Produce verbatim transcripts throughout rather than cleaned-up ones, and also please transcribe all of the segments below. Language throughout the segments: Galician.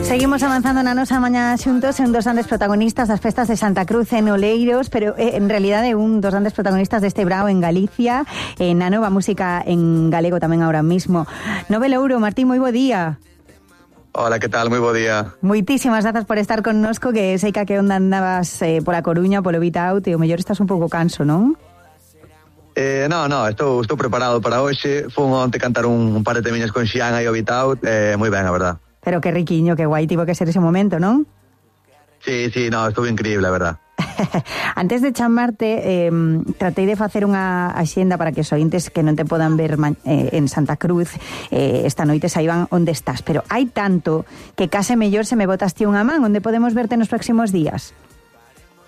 Seguimos avanzando na nosa mañá xuntos en dos grandes protagonistas das festas de Santa Cruz en Oleiros, pero eh, en realidad é un dos grandes protagonistas deste brao en Galicia, eh, na nova música en galego tamén ahora mismo. Nove Louro, Martín, moi bo día. Hola, que tal? Moi bo día. Moitísimas grazas por estar connosco, que sei que a que onda andabas eh, pola Coruña, polo Beat Out, e o mellor estás un pouco canso, non? Eh, no, no, estou, estou preparado para hoxe. Fun onte cantar un, un par de temiñas con Xian aí ao Beat Out, eh, moi ben, a verdad. Pero que riquiño, que guai tivo que ser ese momento, non? Sí, sí, no, estuvo increíble, a verdad. Antes de chamarte, eh, tratei de facer unha axenda para que os ointes que non te podan ver eh, en Santa Cruz eh, esta noite saiban onde estás, pero hai tanto que case mellor se me botaste unha man. Onde podemos verte nos próximos días?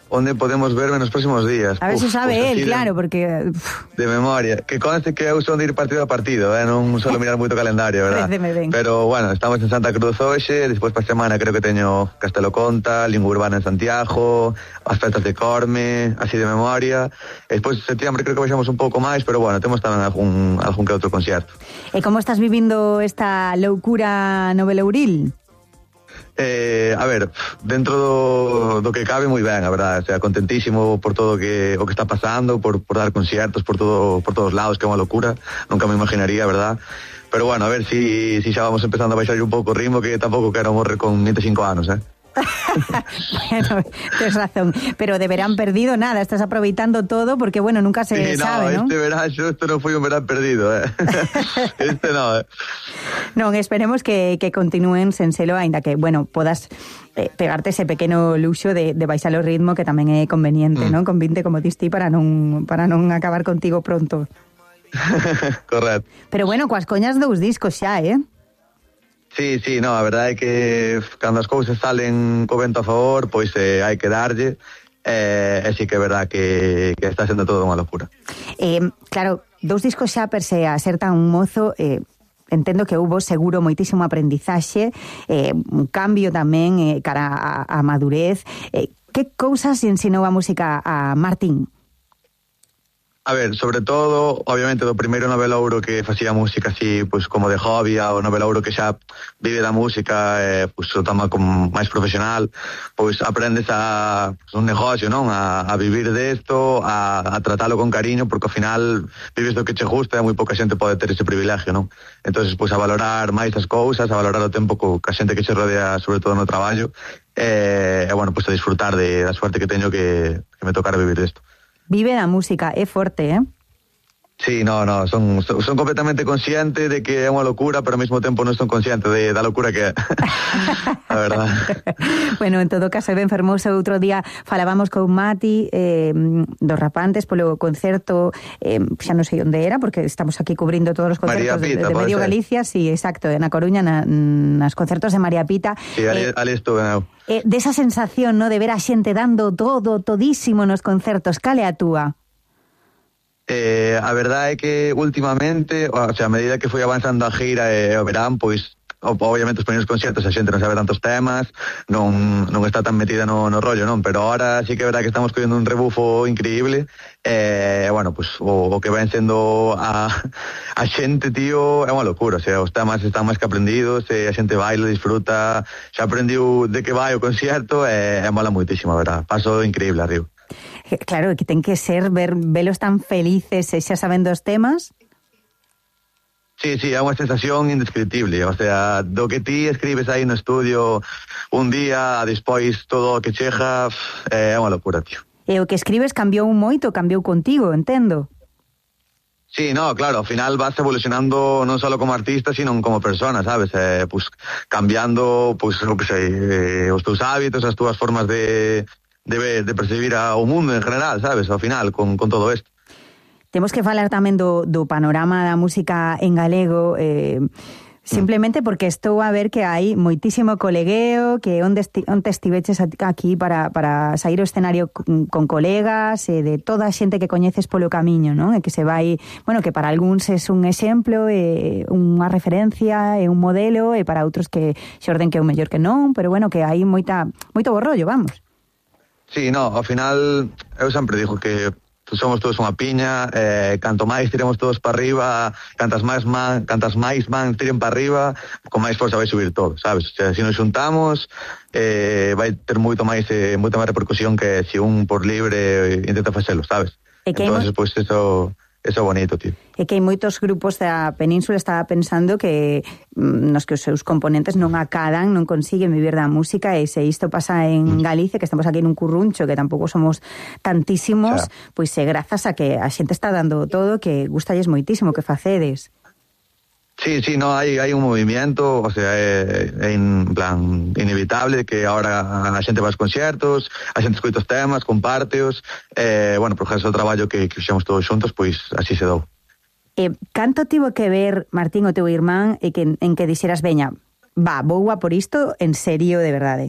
Onde podemos verme nos próximos días? A ver se sabe pues él, de, claro, porque... Uf. De memoria. Que conste que eu son de ir partido a partido, eh? Non solo mirar moito calendario, verdad? Pero, bueno, estamos en Santa Cruz hoxe, despois para semana creo que teño Castelo Conta, Lingua Urbana en Santiago, as festas de Corme, así de memoria. E despois de septiembre creo que baixamos un pouco máis, pero, bueno, temos tamén algún, algún que outro concierto. E como estás vivindo esta loucura novelouril? Eh, a ver, dentro do, do que cabe moi ben, a verdade, o sea, contentísimo por todo que o que está pasando, por, por dar conciertos por todo por todos lados, que é unha locura, nunca me imaginaría, verdad? Pero bueno, a ver si, si xa vamos empezando a baixar un pouco o ritmo, que tampouco quero morrer con vinte e cinco anos, eh? Bueno, tienes razón, pero de verán perdido nada, estás aproveitando todo porque, bueno, nunca se sí, no, sabe, ¿no? Este verán, yo, esto no foi un verán perdido, eh. Este no, eh. Non, esperemos que, que continúen sen selo, ainda que, bueno, podas eh, pegarte ese pequeno luxo de, de baixar o ritmo, que tamén é conveniente, mm. non? Con vinte como diste para non, para non acabar contigo pronto. Correcto. Pero bueno, coas coñas dous discos xa, eh? Sí, sí, no, a verdade é que cando as cousas salen co vento a favor, pois eh, hai que darlle, eh, e sí que é verdade que, que está sendo todo unha locura. Eh, claro, dous discos xa per se a ser tan mozo, eh, entendo que hubo seguro moitísimo aprendizaxe, eh, un cambio tamén eh, cara a, a madurez. Eh, que cousas ensinou a música a Martín? A ver, sobre todo, obviamente, do primeiro novelouro que facía música así, pois como de hobby, o novelouro que xa vive da música, eh, pois o toma como máis profesional, pois aprendes a pues, un negocio, non? A, a vivir desto, a, a tratalo con cariño, porque ao final vives do que che gusta e moi pouca xente pode ter ese privilegio, non? Entonces, pois a valorar máis as cousas, a valorar o tempo co, ca xente que che rodea, sobre todo no traballo, e, eh, bueno, pois a disfrutar de, da suerte que teño que, que me tocara vivir desto. Vive da música, é forte, eh? Sí, no, no, son, son, son completamente consciente de que é unha locura, pero ao mesmo tempo non son consciente de, da locura que é. A verdad. Bueno, en todo caso, ben fermoso. Outro día falábamos con Mati eh, dos Rapantes polo concerto, eh, xa non sei onde era, porque estamos aquí cubrindo todos os concertos Pita, de, de Medio ser. Galicia, sí, exacto, na Coruña, na, nas concertos de María Pita. Sí, ali, eh, ali estuve, eu. Eh, desa sensación, no, de ver a xente dando todo, todísimo nos concertos, cale a túa? Eh, a verdade é que últimamente, o sea, a medida que foi avanzando a gira e o verán, pois obviamente os primeiros conciertos a xente non sabe tantos temas, non, non está tan metida no, no rollo, non? Pero ahora sí que é verdade que estamos collendo un rebufo increíble, e, eh, bueno, pues, o, o que ven sendo a, a xente, tío, é unha locura, o sea, os temas están máis que aprendidos, e a xente baila, disfruta, xa aprendiu de que vai o concierto, e, e mola moitísimo, a verdade, paso increíble arriba. Claro, que ten que ser ver velos tan felices e xa sabendo os temas. Sí, sí, é unha sensación indescriptible, o sea, do que ti escribes aí no estudio un día, despois todo o que chega, é unha locura, tío. E o que escribes cambiou moito, cambiou contigo, entendo. Sí, no, claro, ao final vas evolucionando non só como artista, sino como persona, sabes? Eh, pues, cambiando, pues, o que sei, eh, os teus hábitos, as túas formas de... De, de percibir ao mundo en general, sabes, ao final, con, con todo isto. Temos que falar tamén do, do panorama da música en galego, eh, simplemente porque estou a ver que hai moitísimo colegueo, que onde, esti, onde estiveches aquí para, para sair ao escenario con, con colegas, e de toda a xente que coñeces polo camiño, non? E que se vai, bueno, que para algúns é un exemplo, e unha referencia, e un modelo, e para outros que xorden que é o mellor que non, pero bueno, que hai moita, moito borrollo, vamos. Sí, no, ao final eu sempre digo que somos todos unha piña, eh, canto máis tiremos todos para arriba, cantas máis man, cantas máis man tiren para arriba, con máis forza vai subir todo, sabes? O sea, se nos xuntamos, eh, vai ter moito máis eh, moita máis repercusión que se un por libre intenta facelo, sabes? Entonces, pois, pues, eso... Eso é bonito, tío. É que hai moitos grupos da península, estaba pensando que nos que os seus componentes non acadan, non consiguen vivir da música, e se isto pasa en Galicia, que estamos aquí nun curruncho, que tampouco somos tantísimos, claro. Pois é grazas a que a xente está dando todo, que gustalles moitísimo que facedes. Sí, sí, no, hay, hay un movimiento, o sea, é, é en plan inevitable que ahora a xente vai aos conciertos, a xente escoita os temas, compárteos, eh, bueno, por ejemplo, o traballo que, que fixemos todos xuntos, pois así se dou. Eh, canto tivo que ver, Martín, o teu irmán, e que, en que dixeras, veña, va, vou a por isto en serio de verdade?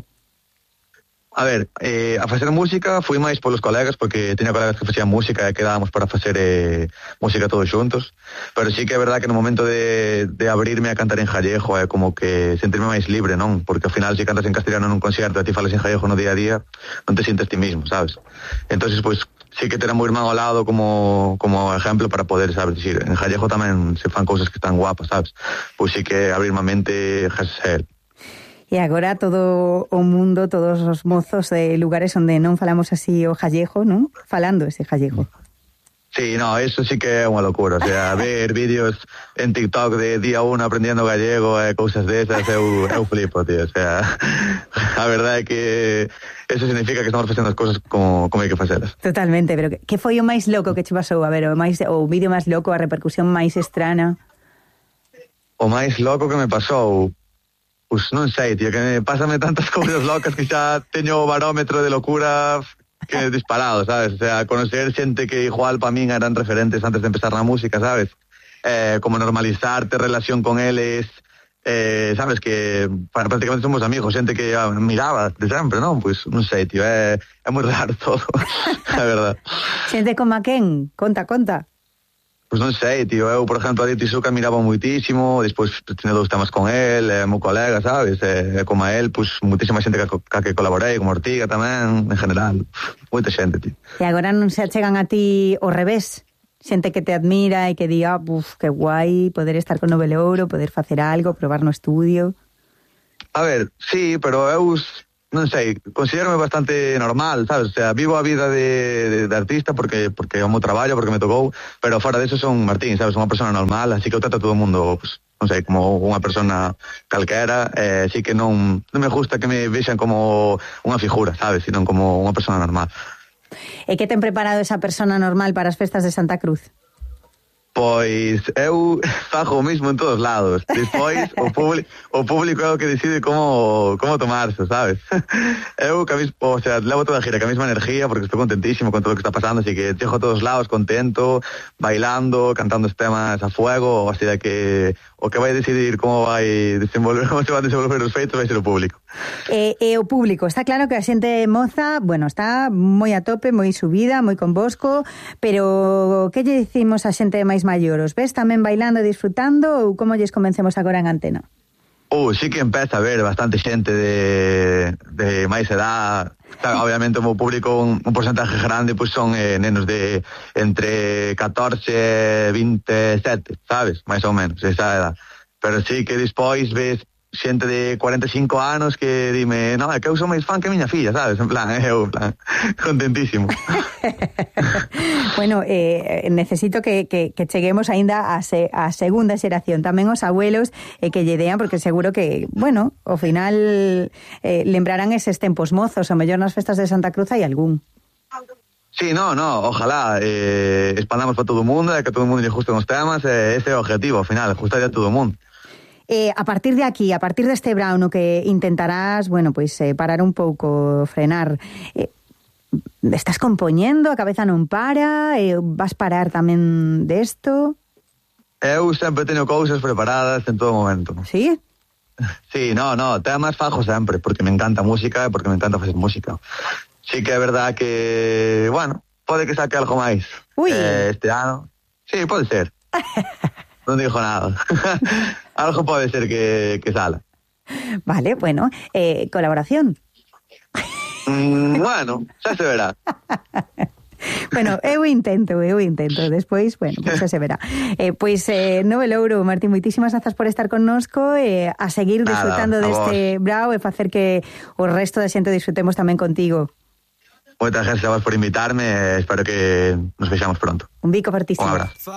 A ver, eh, a facer música fui máis polos colegas, porque teña colegas que facían música e quedábamos para facer eh, música todos xuntos, pero sí que é verdad que no momento de, de abrirme a cantar en gallego é como que sentirme máis libre, non? Porque ao final se cantas en castellano nun concerto e ti falas en gallego no día a día, non te sientes ti mismo, sabes? Entonces, pois, pues, sí que ter a meu irmán ao lado como, como ejemplo para poder, sabes, decir, en gallego tamén se fan cousas que están guapas, sabes? Pois sí que abrirme a mente gracias a él. E agora todo o mundo, todos os mozos de lugares onde non falamos así o gallego, non? Falando ese gallego. Sí, no, eso sí que é unha locura, o sea, ver vídeos en TikTok de día uno aprendiendo gallego e eh, cousas desas, eu, eu flipo, tío, o sea, a verdade é que eso significa que estamos facendo as cousas como, como hai que facelas. Totalmente, pero que foi o máis loco que che pasou? A ver, o, máis, o vídeo máis loco, a repercusión máis estrana? O máis loco que me pasou... Pues non sei, tío, que me pásame tantas cousas locas que xa teño o barómetro de locura que disparado, sabes? O sea, conocer xente que igual para min eran referentes antes de empezar na música, sabes? Eh, como normalizarte relación con eles, eh, sabes, que para, prácticamente somos amigos, xente que ah, miraba de sempre, non? Pues non sei, tío, é, é moi raro todo, a verdad. Xente como a quen? Conta, conta. Pois non sei, tío, eu, por exemplo, a Dito Isuka miraba moitísimo, despois teño dous temas con el, é meu colega, sabes, e como a el, pois moitísima xente que, que, que colaborei, como Ortiga tamén, en general, moita xente, tío. E agora non se achegan a ti ao revés? Xente que te admira e que diga, buf, que guai, poder estar con Nobel Ouro, poder facer algo, probar no estudio... A ver, sí, pero eu... non sei, considérame bastante normal, sabes? O sea, vivo a vida de, de, de artista porque porque é o meu traballo, porque me tocou, pero fora deso son Martín, sabes? Unha persona normal, así que eu trato a todo o mundo, pues, non sei, como unha persona calquera, eh, así que non, non me gusta que me vexan como unha figura, sabes? Sino como unha persona normal. E que ten preparado esa persona normal para as festas de Santa Cruz? Pois eu fago o mismo en todos lados. Despois o, publi o público é o que decide como como tomarse, sabes? Eu, que a mis, o sea, levo toda a gira, que a mesma energía, porque estou contentísimo con todo o que está pasando, así que dejo a todos lados contento, bailando, cantando os temas a fuego, así de que o que vai decidir como vai desenvolver, como se van desenvolver os feitos vai ser o público. E, e o público, está claro que a xente moza, bueno, está moi a tope, moi subida, moi convosco, pero que lle dicimos a xente máis maior? Os ves tamén bailando e disfrutando ou como lles convencemos agora en antena? Uh, sí que empeza a ver bastante xente de, de máis edad. Claro, obviamente o meu público un, un porcentaje grande pois son eh, nenos de entre catorce e veintesete, sabes? Mais ou menos, esa edad. Pero sí que despois ves xente de cuarenta e cinco anos que dime, no, é que eu sou máis fan que miña filla, sabes? En plan, eu, en plan, contentísimo. Bueno, eh, necesito que, que, que cheguemos aínda a, se, a segunda xeración, tamén os abuelos, eh, que lle dean, porque seguro que, bueno, ao final eh, lembrarán eses tempos mozos, o mellor nas festas de Santa Cruz hai algún. Sí, no, no, ojalá eh, expandamos para todo o mundo, e que todo o mundo lle gusten os temas, eh, ese é o objetivo, ao final, gustar a todo o mundo. Eh, a partir de aquí, a partir deste brauno que intentarás, bueno, pois pues, eh, parar un pouco, frenar, eh, estás compoñendo, a cabeza non para, eh, vas parar tamén desto? Eu sempre teño cousas preparadas en todo momento. Sí? Sí, no, no, temas fajo sempre, porque me encanta a música e porque me encanta facer música. Sí que é verdad que, bueno, pode que saque algo máis. Ui. Eh, este ano. Sí, pode ser. Non digo nada. Algo pode ser que, que sala. Vale, bueno, eh, colaboración. Mm, bueno, xa se verá. Bueno, eu intento, eu intento. Despois, bueno, pois pues se verá. Eh, pois, eh, no velouro, Martín, moitísimas grazas por estar connosco, eh, a seguir Nada, disfrutando a deste brao e facer que o resto da xente disfrutemos tamén contigo. Moitas gracias a vos por invitarme, espero que nos vexamos pronto. Un bico fortísimo. Un abrazo.